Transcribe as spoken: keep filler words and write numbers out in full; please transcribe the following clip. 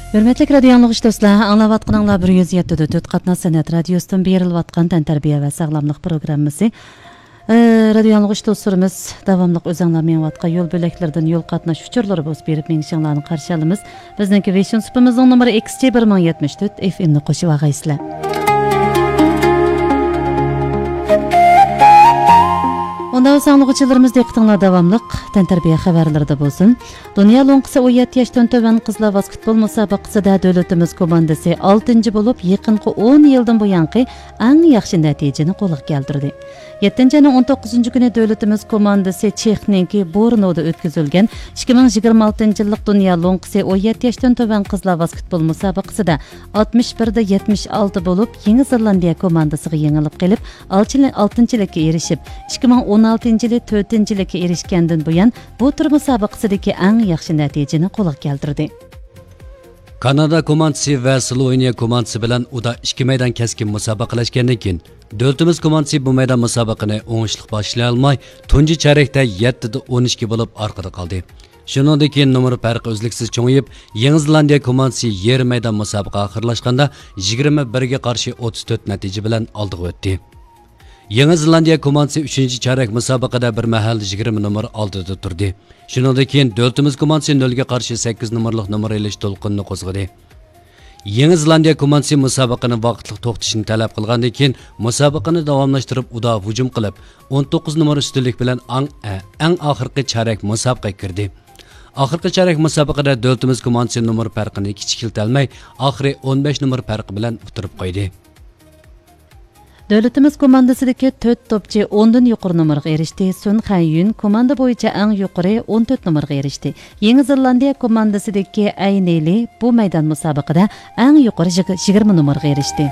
ھۆرمەتلىك رادىيو ئاڭلىغۇچى دوستلار، ئاڭلاۋاتقىنىڭلار بىر يۈز يەتتە پۈتۈن تۆت قاتناش سەنئەت رادىيوسىدىن بېرىلىۋاتقان تەنتەربىيە ۋە ساغلاملىق پروگراممىسى. ئى، رادىيو ئاڭلىغۇچى دوستلىرىمىز، داۋاملىق ئۆزۈڭلار مېڭىۋاتقان يول بۆلەكلىرىدىن يول قاتناش ئۇچۇرلىرى بوزۇپ بېرىپ مېڭىشىڭلارنى قارشى ئالىمىز. بىزنىڭكى ۋېشۇن سۇپىمىزنىڭ نومۇرى ئېكس جى بىر مىڭ يەتمىش تۆت ئېف ئېم نى قوشۇۋالغايسىلەر. ئۇنداق بولسا ئاڭلىغۇچىلىرىمىز، دىققىتىڭلار داۋاملىق تەنتەربىيە خەۋەرلىرىدە بولسۇن. دۇنيا لوڭقىسى ئون يەتتە ياشتىن تۆۋەن قىزلار ۋاسكېتبول مۇسابىقىسىدە دۆلىتىمىز كوماندىسى ئالتىنچى بولۇپ، يېقىنقى ئون يىلدىن بۇيانقى ئەڭ ياخشى نەتىجىنى قولغا كەلتۈردى. يەتتىنچى ئاينىڭ ئون توققۇزىنچى كۈنى دۆلىتىمىز كوماندىسى چېخنىڭكى بۇرنودا ئۆتكۈزۈلگەن ئىككى مىڭ يىگىرمە ئالتىنچى يىللىق دۇنيا لوڭقىسى ئون يەتتە ياشتىن تۆۋەن قىزلار ۋاسكېتبول مۇسابىقىسىدە ئاتمىش بىر دە يەتمىش ئالتە بولۇپ، يېڭى زېلاندىيە كوماندىسىغا يېڭىلىپ قېلىپ، ئالتىنچىلىككە ئېرىشىپ، ئىككى مىڭ ئون ئالتىنچى يىلى تۆتىنچىلىككە ئېرىشكەندىن بۇيان، بۇ تۈر مۇسابىقىسىدىكى ئەڭ ياخشى نەتىجىنى قولغا كەلتۈردى. كانادا كوماندىسى ۋە سلوۋېنىيە كوماندىسى بىلەن ئۇدا ئىككى مەيدان كەسكىن مۇسابىقىلەشكەندىن كېيىن، دۆلىتىمىز كوماندىسى بۇ مەيدان مۇسابىقىنى ئوڭۇشلۇق باشلىيالماي، تۇنجى چارەكتە يەتتە دە ئون ئىككى بولۇپ ئارقىدا قالدى. شۇنىڭدىن كېيىن نومۇر پەرقى ئۈزلۈكسىز چوڭىيىپ، يېڭى زېلاندىيە كوماندىسى يېرىم مەيدان مۇسابىقە ئاخىرلاشقاندا يىگىرمە بىرگە قارشى ئوتتۇز تۆت نەتىجە بىلەن ئالدىغا ئۆتتى. يېڭى زېلاندىيە كوماندىسى ئۈچىنچى چارەك مۇسابىقىدە بىر مەھەل يىگىرمە نومۇر ئالدىدا تۇردى. شۇنىڭدىن كېيىن دۆلىتىمىز كوماندىسى نۆلگە قارشى سەككىز نومۇرلۇق نومۇر ئېلىش دولقۇنىنى قوزغىدى. يېڭى زېلاندىيە كوماندىسى مۇسابىقىنى ۋاقىتلىق توختىتىشنى تەلەپ قىلغاندىن كېيىن، مۇسابىقىنى داۋاملاشتۇرۇپ، ئۇدا ھۇجۇم قىلىپ، ئون توققۇز نومۇر ئۈستۈنلۈك بىلەن ئاڭ-، ئە، ئەڭ ئاخىرقى چارەك مۇسابىقىگە كىردى. ئاخىرقى چارەك مۇسابىقىدە دۆلىتىمىز كوماندىسى نومۇر پەرقىنى كىچىكلىتەلمەي، ئاخىرى ئون بەش نومۇر پەرقى بىلەن ئۇتتۇرۇپ قويدى. دۆلىتىمىز كوماندىسىدىكى تۆت توپچى ئوندىن يۇقىرى نومۇرغا ئېرىشتى. سۈن خەنيۈن كوماندا بويىچە ئەڭ يۇقىرى ئون تۆت نومۇرغا ئېرىشتى. يېڭى زېلاندىيە كوماندىسىدىكى ئەي نېلى بۇ مەيدان مۇسابىقىدە ئەڭ يۇقىرى يىگ-، يىگىرمە نومۇرغا ئېرىشتى.